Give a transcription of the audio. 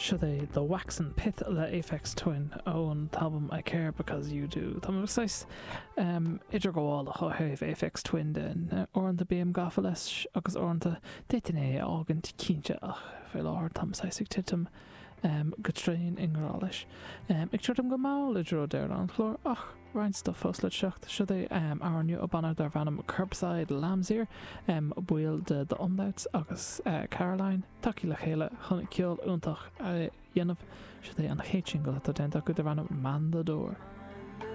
Seo é The Waxen Pith le Aphex Twin ón t-albam I Care Because You Do. Tá mé saghas idirghabhálach ó thaobh Aphex Twin de. Uaireanta bím gafa leis agus uaireanta d'fhéadfainn é a fhágaint cinnte ach faoi láthair táim saghas ag titim go tréan i ngrá leis. Ag druidim go mall i dtreo deireadh an chláir ach roinnt stuif fós le teacht. Seo é amhrán nua ó banna darb ainm Curbside Lamb's Ear, baill de The Umlauts agus Caroline tagtha le chéile chun ceol iontach a dhéanamh. Seo é an chéad singil atá déanta acu darb ainm Man the Door.